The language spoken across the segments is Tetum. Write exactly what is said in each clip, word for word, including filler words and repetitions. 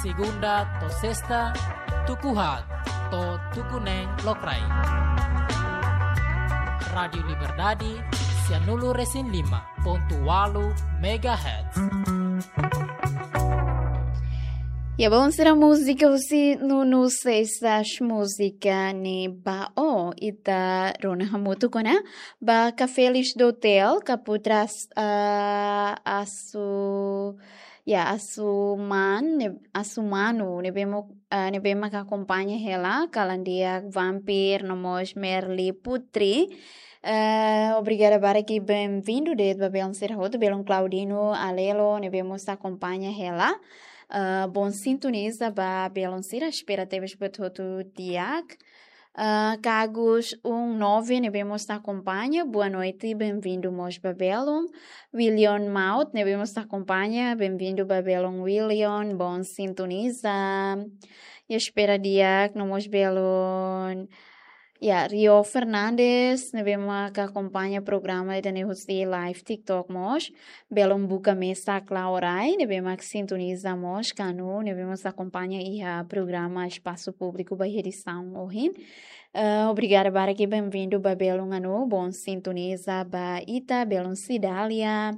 Segunda to'o sesta, tuku haat to'o tuku neen lokraik. Rádiu Liberdade, sianulu-resin-lima pontu ualu megahertz. Ya, bom, sira múzika husi Nuno Seixas, múzika ne'e ba ó, ita rona hamutuk ona ba Café Lixdotel, Kaputras, ah, Asu, ya, Asuman, ne-, Asumanu, ne'ebé mak, ah, ne'ebé mak akompaña hela, kalan di'ak Vampir, no mós Merli Putri. Eh, obrigada barak i bem-vindu de'it ba belun sira hotu, belun Claudino Alelo, ne'ebé mós akompaña hela. Eh, bom sintoniza ba belun sira, espera tebes buat hotu di'ak. Eh, Cagus um nove, ne'ebé mós akompaña, boa noite, bem-vindu mós ba belun. William Maut, ne'ebé mós akompaña, bem-vindu ba belun William, bom sintoniza. I espera di'ak, no mós belun Ya, Rio Fernandes, ne'ebé mak akompaña programa ida-ne'e husi live TikTok mós. Belun buka mesak Laurai, ne'ebé mak sintoniza mós, Kanu, ne'ebé mós akompaña iha programa Espasu Públiku ba edisaun ohin. Eh, obrigada barak i bem-vindu ba belun Anu, bom sintoniza ba ita, belun Cidália.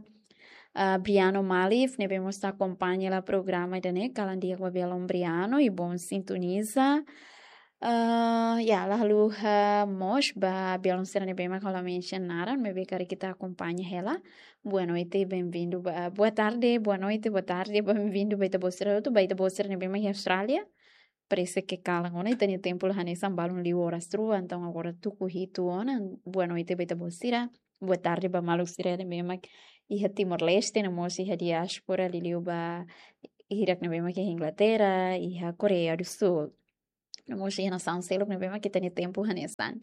Ah, Briano Malif, ne'ebé mós akompaña hela programa ida-ne'e, kalan di'ak ba belun Briano, i bom sintoniza. Ah, ya, la haluha mós ba belun sira ne'ebé mak ha'u la mention naran, maibé karik ita akompaña hela. Boa noite, bem-vindu ba, boa tarde, boa noite, boa tarde, bem-vindu ba ita-boot sira hotu, ba ita-boot sira ne'ebé mak iha Austrália. Parese ke kalan ona, ita-nia tempu la hanesan, balun liu oras rua, entaun agora tuku hitu ona. Boa noite ba ita-boot sira. Boa tarde ba maluk sira ne'ebé mak iha Timor-Leste, no mós iha diáspora, liuliu ba hirak ne'ebé mak iha Inglaterra, iha Koreia do Sul. No mós iha nasaun seluk ne'ebé mak ita-nia tempu hanesan.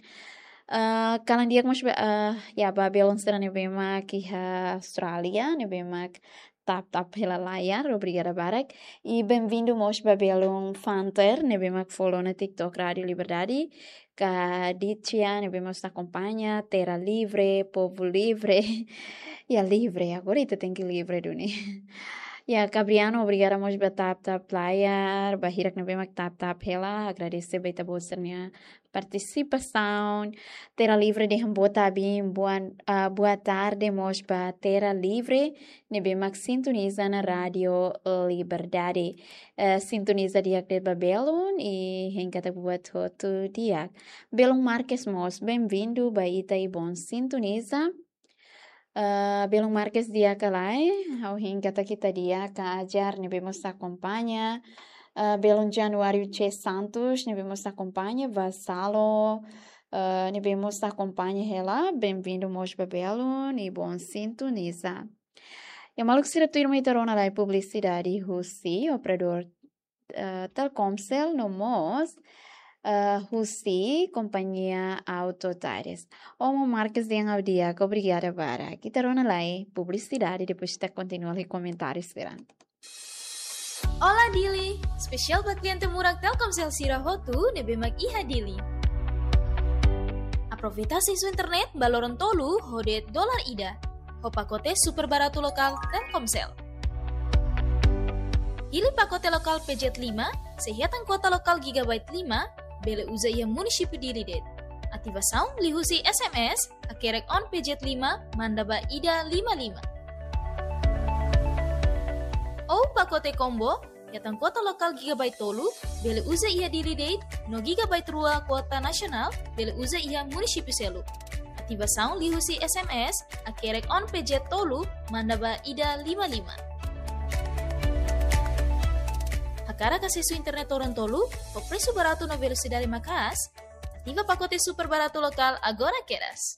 Ah, kalan di'ak mós ba, ah, ya, ba belun sira ne'ebé mak iha Austrália, ne'ebé mak tap-tap hela layar, obrigada barak. I bem-vindu mós ba belun Fanter, ne'ebé mak follow ona TikTok Rádiu Liberdade. Kadicia, ne'ebé mós akompaña, Terra Livre, Povo Livre. Ya, livre, agora ita tenke livre duni. Ya, Gabriano, obrigada mós ba tap-tap layar, ba hirak ne'ebé mak tap-tap hela, agradese ba ita-boot sira-nia partisipasaun. Terra Livre dehan boa tarde, boa, ah, boa tarde mós ba Terra Livre, ne'ebé mak sintoniza ona Rádiu Liberdade. Eh, sintoniza di'ak de'it ba belun, i hein katak buat hotu di'ak. Belun Marques mós, bem-vindu ba ita i bom sintoniza. Ah, belun Marques di'ak ka lae, ha'u hein katak ita di'ak, Ajar ne'ebé mós akompaña. Ah, belun Januário C Santos, ne'ebé mós akompaña, Vasalo, ah, ne'ebé mós akompaña hela, bem-vindu mós ba belun, i bom sintoniza. Ya, maluk sira, tuirmai ita rona lai publisidade husi operadór, eh, Telkomcel no mós, eh, husi kompañia Auto Tires. Omo Marques dehan ha'u di'ak, obrigada barak. Ita rona lai publisidade, depois ita kontinua lai komentáriu sira. Olá Dili, espesiál ba kliente murak Telkomcel sira hotu ne'ebé mak iha Dili. Aproveita asesu internet ba loron tolu ho de'it dolar ida, ho pakote super baratu lokál Telkomcel. Hili pakote lokál P Z lima, sei hetan kuota lokál gigabyte lima, bele uza iha munisípiu Dili de'it. Ativasaun liuhusi S M S, hakerek on P Z lima, manda ba ida lima lima. Ou pakote combo, hetan kuota lokál gigabyte tolu, bele uza iha Dili de'it, no gigabyte rua kuota nasionál, bele uza iha munisípiu seluk. Ativasaun liuhusi S M S, hakerek on P Z tolu, manda ba ida lima lima. Hakarak asesu internet loron tolu, ho presu baratu no velosidade maka'as, ativa pakote super baratu lokál agora kedas.